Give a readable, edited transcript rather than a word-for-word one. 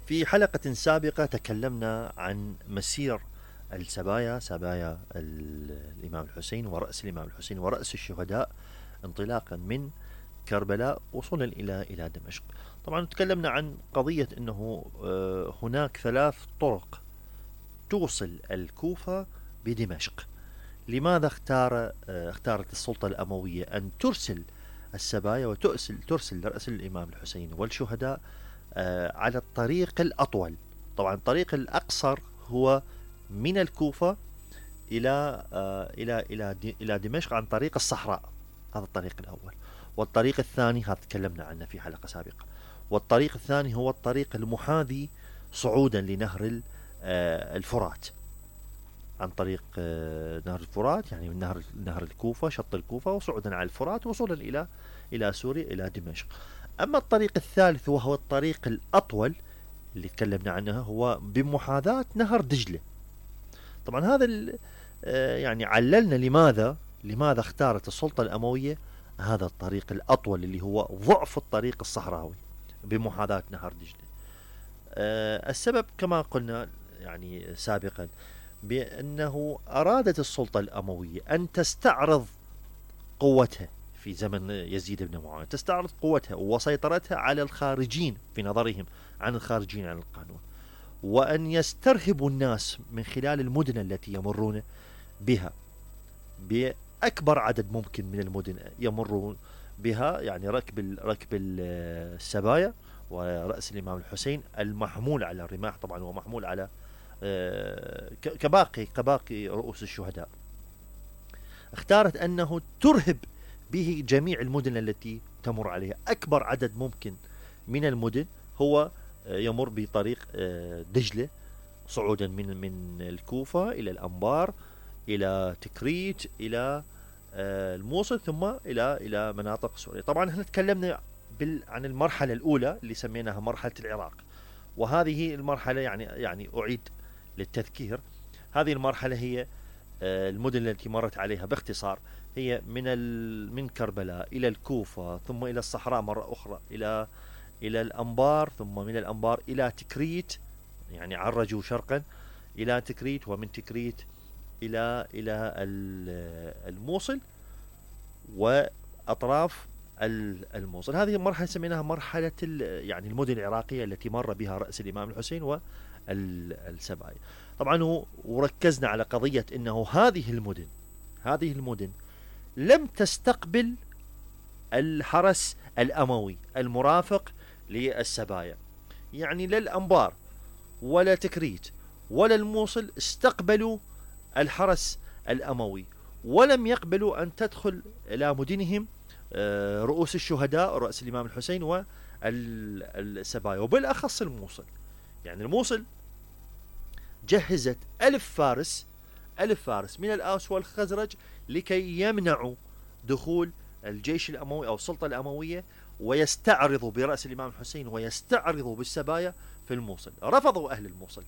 في حلقة سابقة تكلمنا عن مسير السبايا، سبايا الإمام الحسين ورأس الإمام الحسين ورأس الشهداء، انطلاقا من كربلاء وصولا إلى دمشق. طبعا تكلمنا عن قضية أنه هناك 3 طرق توصل الكوفة بدمشق. لماذا اختارت السلطة الأموية أن ترسل السبايا وترسل رأس الإمام الحسين والشهداء على الطريق الأطول؟ طبعا الطريق الأقصر هو من الكوفة إلى دمشق عن طريق الصحراء، هذا الطريق الأول. والطريق الثاني هذا تكلمنا عنه في حلقة سابقة. والطريق الثاني هو الطريق المحاذي صعودا لنهر الفرات، عن طريق نهر الفرات، يعني من نهر الكوفة، شط الكوفة، وصعودا على الفرات وصولا إلى سوريا، إلى دمشق. أما الطريق الثالث وهو الطريق الأطول اللي تكلمنا عنه، هو بمحاذاة نهر دجلة. طبعا هذا يعني عللنا لماذا اختارت السلطة الأموية هذا الطريق الأطول اللي هو ضعف الطريق الصحراوي بمحاذاة نهر دجلة. السبب كما قلنا يعني سابقا بأنه أرادت السلطة الأموية أن تستعرض قوتها في زمن يزيد بن معاوية، تستعرض قوتها وسيطرتها على الخارجين في نظرهم عن الخارجين عن القانون، وأن يسترهبوا الناس من خلال المدن التي يمرون بها، بأكبر عدد ممكن من المدن يمرون بها، يعني ركب السبايا ورأس الإمام الحسين المحمول على الرماح طبعا، ومحمول على كباقي رؤوس الشهداء. اختارت أنه ترهب به جميع المدن التي تمر عليها. أكبر عدد ممكن من المدن هو يمر بطريق دجلة، صعودا من الكوفة إلى الأنبار، إلى تكريت، إلى الموصل، ثم إلى مناطق سوريا. طبعا احنا تكلمنا عن المرحلة الأولى اللي سميناها مرحلة العراق، وهذه المرحلة يعني أعيد للتذكير. هذه المرحلة هي المدن التي مرت عليها باختصار، هي من كربلاء إلى الكوفة، ثم إلى الصحراء مرة أخرى، إلى الأنبار، ثم من الأنبار إلى تكريت، يعني عرجوا شرقا إلى تكريت، ومن تكريت إلى الموصل وأطراف الموصل. هذه المرحلة سميناها مرحلة يعني المدن العراقية التي مر بها رأس الإمام الحسين والسبايا. طبعا وركزنا على قضية أنه هذه المدن لم تستقبل الحرس الأموي المرافق للسبايا، يعني لا الأنبار ولا تكريت ولا الموصل استقبلوا الحرس الأموي، ولم يقبلوا أن تدخل إلى مدنهم رؤوس الشهداء، رأس الإمام الحسين والسبايا، وبالأخص الموصل. يعني الموصل جهزت 1000 فارس من الأوس والخزرج لكي يمنعوا دخول الجيش الأموي أو السلطة الأموية، ويستعرضوا برأس الإمام الحسين ويستعرضوا بالسبايا في الموصل. رفضوا أهل الموصل،